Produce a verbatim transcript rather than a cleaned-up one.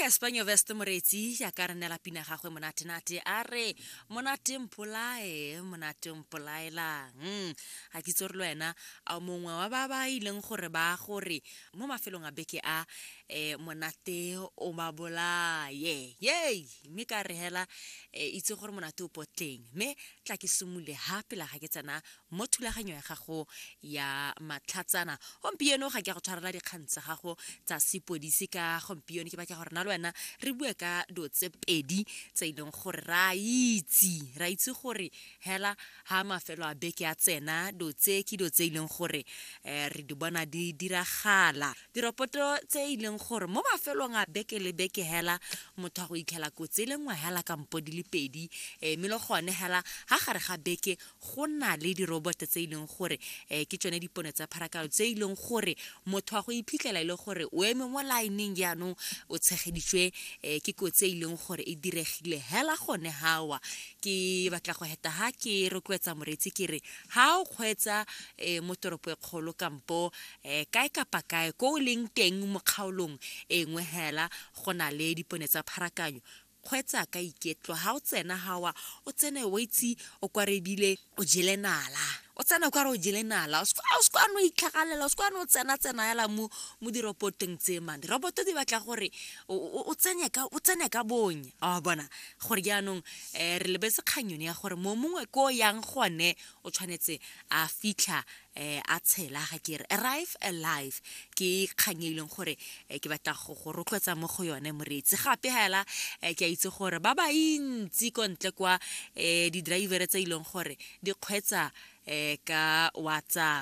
Cassper Nyovest moreetsi jaaka re neela pina gagwe monatenate a re monate mpolae monate mpolaelang. Ga ke itse gore le wena a mongwe wa ba ba ileng gore ba gore mo mafelong a beke a um monate o ba bolaye yei, mme ka re hela um itse gore monate o potleng. Mme tla ke simolole ha pele ga ke tsena mo thulaganyo ya gago ya matlhatsana gompieno. Ga ke a go tshwarela dikgang tsa gago tsa sepodisi ka gompieno, ke batla gore na le wena re bue ka dilo tse pedi tse e leng gore ra itse ra itse gore hela ha mafelo a beke a tsena, dilo tse ke dilo tse e leng gore um re di bona di diragala, diropoto tse e leng gore mo mafelong a beke le beke hela motho a go itlhela kotsi e le nngwe hela kampo di le pedi. um mme le gone hela ha gare ga beke go na le diroboto tse e leng gore um ke tsone dipone tsa pharakano tse e leng gore motho a go iphitlhela e le gore o eme mo lineng, jaanong o tshegeditswe um ke kotsi e leng gore e diregile hela gone hawa. Ke batla go heta ha ke rotloetsa moreetsi ke re ha o kgweetsa um mo toropo e kgolo kampo um kae kapa kae ko o leng teng mo kgaolong e nngwe hela go na le dipone tsa pharakanyo, kgweetsa ka iketlo. Ha o tsena hawa o tsene o itse o kwarebile o jele nala, o tsena o kare o jele nala, o se no itlhagalela, o se no tsena tsena hela mo mo dirobotong tse man. Diroboto di batla gore o tsene ka o tsene ka bonya a bona gore jaanong um re lebetse kgang yone ya gore mo mongwe ko yang gone o tshwanetse a fitlha um a tshela, ga ke re arrive alive. Ke kgang e leng gore ke batla go go rotloetsa mo go yone moreetsi. Gape hela ke a itse gore ba ba ntsi ko ntle kwa um di-driver tse e leng gore di kgweetsa um ka WhatsApp.